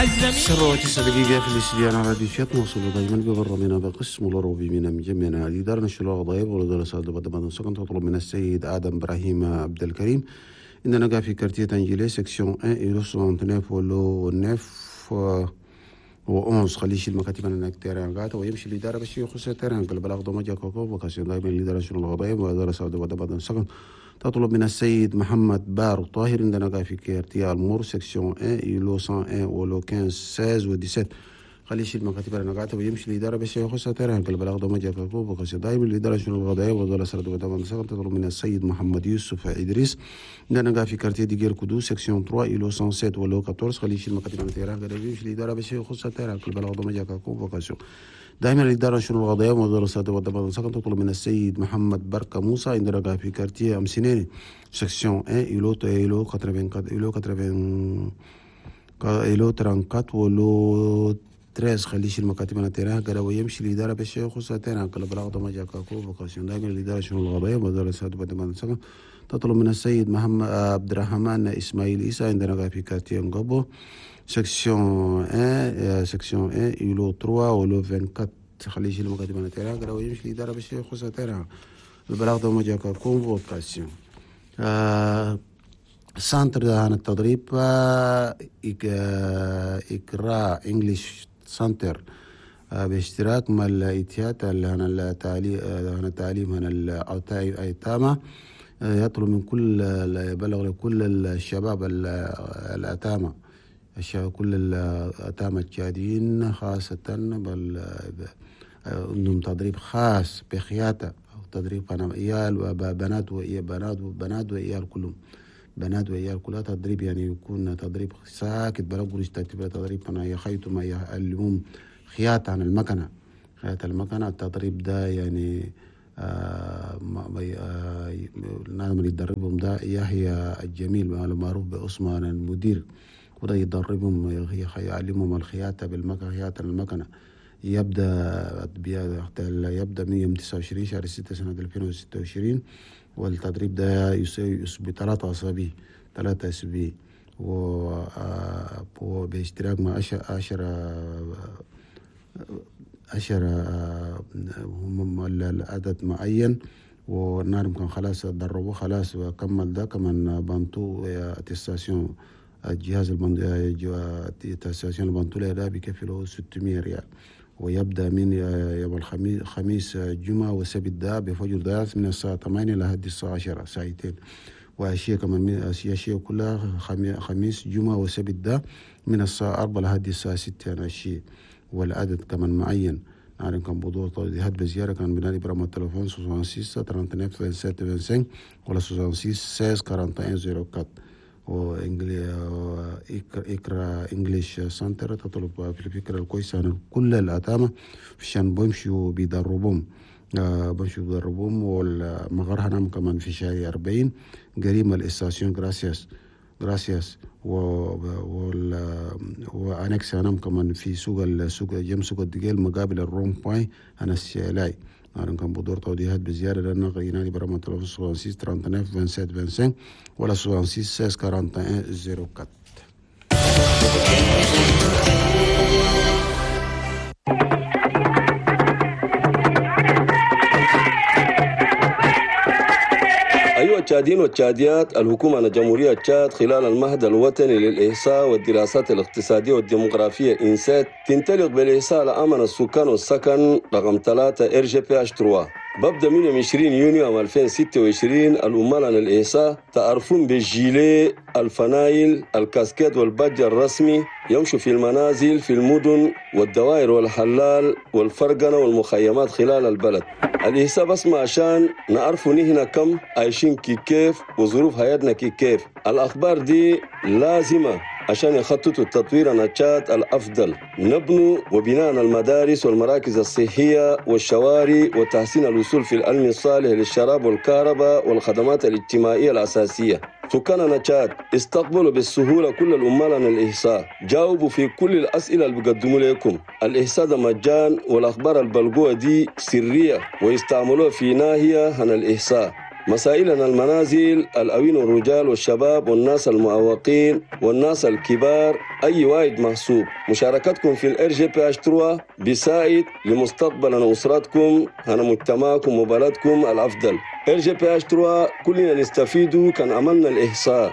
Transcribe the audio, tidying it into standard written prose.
9 دقيقة في الاستديو على راديو شات نوصل دائما ببرنامجنا بقسم الأوروبي من مجمعنا الإدارة نشر الغضايب ولدار سعد بدر سكن تطلب من السيد آدم إبراهيم عبد الكريم إننا في quartier تنجيلي section 1 îlot 69 و lot 9 و 11 خليه يشيل مكاتب هناك terrain قاعدة ويمشي الإدارة باش يخص terrain البلاغ دوما convocation دائما الإدارة شنو الغضايب ودار سعد بدر سكن تطلب من السيد محمد بار طاهر عندنا في quartier المور section 1 îlot 101 و lot 15 16 و 17 خليه يشيل مكاتب انا قاعدة ويمشي الإدارة باش يخص terrain البلاغ دوما convocation دائما الإدارة شنو الغضايب ودار سعد بدر سكن تطلب من السيد محمد يوسف إدريس عندنا في quartier ديجير كودو section 3 îlot 107 و lot 14 خليه يشيل مكاتب انا terrain قاعدة ويمشي الإدارة باش يخص terrain البلاغ دوما convocation دائما الإدارة شنو القضايا ومدرسات والدبابة سكن تطلب من السيد محمد بركة موسى عندنا في quartier أمسينيني section 1 îlot îlot 84 îlot 80 îlot 34 و lot 13 خليه يشيل مكاتب انا terrain قال ويمشي الإدارة باش يخص terrain كل بلاغ دوما جاكا convocation دائما الإدارة شنو القضايا ومدرسات والدبابة سكن تطلب من السيد محمد عبد الرحمن إسماعيل إيسا عندنا في quartier نقبو section 1 section 1 îlot 3 و lot 24 خليه يشيل مكاتب انا terrain قال ويمشي الإدارة باش يخص terrain البلاغ دوما جاكا convocation. Centre عن التدريب إقراء English Center باشتراك مع الاتحاد التعليم عن الأيتام يطلب من كل يبلغ لكل الشباب الأتامة كل الأتامة التشاديين خاصة بل عندهم تدريب خاص بخياطة أو تدريب عيال وبنات وبنات وبنات وعيال كلهم بنات وعيال كلها تدريب يعني يكون تدريب ساكت بلا قروش تدريب أنا يخيطوا ما يعلمهم خياطة عن المكنة خياطة المكنة. التدريب ده يعني نعم اللي يدربهم ده يحيى الجميل المعروف بأسمان المدير وده يدربهم يعلمهم الخياطة بالمكنة خياطة المكنة. يبدأ من يوم 29 شهر 6 سنة 2026 والتدريب ده يسبي 3 أسابيع 3 أسابيع وباشتراك مع 10 هم العدد معين والنار كان خلاص دربوه خلاص وكمل ده كمان بانتو attestation الجهاز attestation البانتو ده بيكفي له 600 ريال ويبدأ من يوم الخميس خميس جمعة وسبت ده بفجر ده من الساعة 8 لحد الساعة 10 ساعتين وأشياء كمان أشياء كلها خميس جمعة وسبت ده من الساعة 4 لحد الساعة 6 أنا أشياء والعدد كمان معين نعلم كان بدور توضيحات بزيارة كان بنادي برقم التليفون 66 39 27 25 ولا 66 16 41 04 وإقرا English Center تطلب في الفكرة الكويسة عن كل الأتامة عشان بيمشوا بيدربهم بيمشوا بيدربهم والمغار هنام كمان في شارع 40 قريب ال station Gracias Gracias و annexe هنام كمان في سوق السوق جنب سوق الدقيل مقابل ال rond-point أنا السيلاي نعلم كان بدور توضيحات بزيادة لأن ينادي برقم التليفون 66 39 27 25 ولا 66 16 41 04. أيها التشاديين والتشاديات، الحكومة الجمهورية تشاد خلال المهد الوطني للإحصاء والدراسات الاقتصادية والديموغرافية إنسات تنطلق بالإحصاء لأمن السكان والسكن رقم 3 RGPH 3 ببدأ من يوم 20 يونيو عام 2026. العمال عن الإحصاء تعرفون بالجيلي الفنايل الكاسكيت والبادج الرسمي يمشوا في المنازل في المدن والدوائر والحلال والفرقنة والمخيمات خلال البلد. الإحصاء بس ما عشان نعرفوا نحن كم عايشين كي كيف وظروف حياتنا كي كيف. الأخبار دي لازمة عشان يخططوا التطوير النشاط الأفضل، نبنوا وبناء المدارس والمراكز الصحية والشوارع وتحسين الوصول في العلم الصالح للشراب والكهرباء والخدمات الاجتماعية الأساسية. سكان تشاد استقبلوا بالسهولة كل العمال عن الإحصاء، جاوبوا في كل الأسئلة اللي بيقدموا لكم. الإحصاء ده مجان والأخبار البلقوة دي سرية ويستعملوها في ناحية عن الإحصاء. مسائلنا المنازل، الأوين والرجال والشباب والناس المعوقين والناس الكبار، أي واحد محسوب. مشاركتكم في ال RGPH 3 بيساعد لمستقبل أسرتكم، هنا مجتمعكم وبلدكم الأفضل. RGPH 3 كلنا نستفيد كان عملنا الإحصاء.